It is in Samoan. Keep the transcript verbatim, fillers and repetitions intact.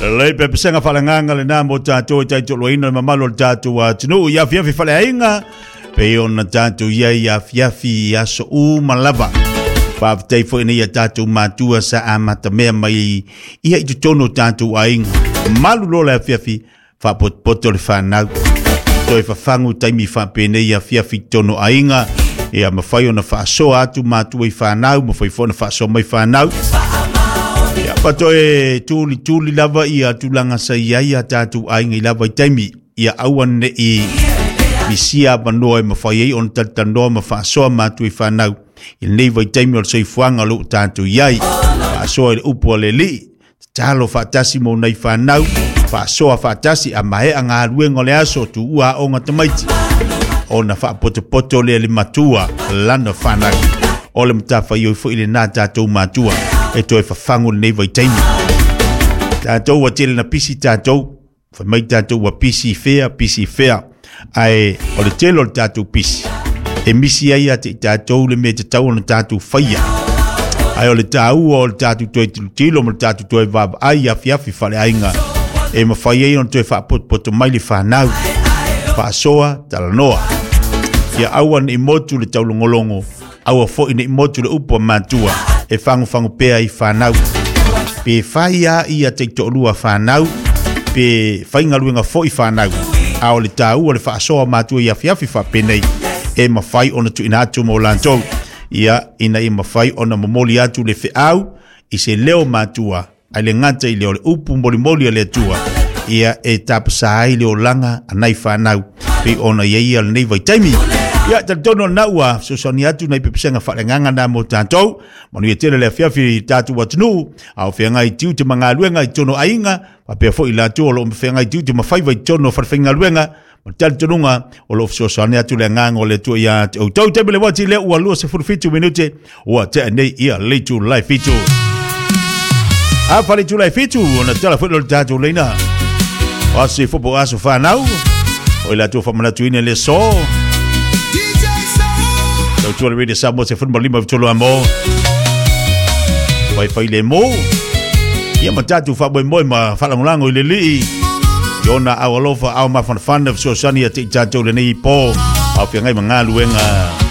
Lelei pepesega faaleagaga lenā mo tatou e taitoloina le mamalu o le tatou atunuu i afiafi faleaiga pei ona tatou i ai i afiafi i aso uma lava. Faafetai foi nei ia tatou matua sa amatamea mai ia i totonu o tatou aiga. Malu loa le afiafi, faapotopoto le fanau. Toe fafagu taimi faapenei afiafi i totonu o aiga. Ia mafai ona faasoa atu matua i fanau, mafai foi ona faasoa mai fanau. Ia pa toe tulituli lava ia tulaga sa i ai a tatou aiga i lava i taimi. Ia aua ne'i misia avanoa e mafai ai ona talatalanoa ma faasoa matua i fanau i lenei vaitaimi o le soifuaga o loo tatou i ai. Faasoa i le upu a le Alii, tatalo faatasi mo nai fanau, faasoa faatasi a maea galuega o le aso, tuua aoga tamaiti, ona faapotopoto lea le matua lana fanau. O le matafaioi foi lenā tatou matua e toe fafagu lenei vaitaimi. Tatou ua tele na pisi tatou, fai mai tatou ua pisi fea, pisi fea, ae o le tele o le tatou pisi e misi ai ia te i tatou le mea e tatau ona tatou faia. Ae o le taua o le tatou toe tilotilo ma le tatou toe vaavaai i afiafi faleaiga e mafai ai ona toe faapotopoto mai le fanau, faasoa, talanoa. Ia aua ne'i motu le taulogologo, aua foi ne'i motu le upu a matua, e fagofago pea i fanau. Pe fai a ia taitoalua fanau, pe faigaluega foi fanau, a o le taua le faasoa matua i afiafi faapenei e mafai ona tuuina atu mo latou. Ia ina ia mafai ona momoli atu le feau i se leo matua, ae le gata i lea o le upu molimoli a le Atua, ia e tapasā ai le olaga a nai fanau pei ona i ai ia lenei vaitaimi. Ia talitonu o lena ua fesoasoani atu nai pepesega faaleagaga na mo tatou. Manuia tele le afiafi i tatou atunuu a o feagai tiute ma galuega i totonu o aiga, faapea foi i latou o loo feagai tiute ma faiva i totonu o falefaigaluega, ma le talitonuga o loo fesoasoani atu le agaga o le Atua ia te outou. Taimi le uati lea ua luasefulu fitu minute ua tea nei ia le itulai fitu. A fale itulai fitu ona tala foi lo le tatou leina. O aso fo po aso fanau. O i latou faamanatuina le so. Tautua le Radio Samoa se fulu ma lima tolu amo. Fai fai le mo. Ia ma tatou faamoemoe ma faalagolago i le Alii. I ona au alofa au mafanafana fesoasoani ia te i tatou lenei po. Au feagai ma galuega.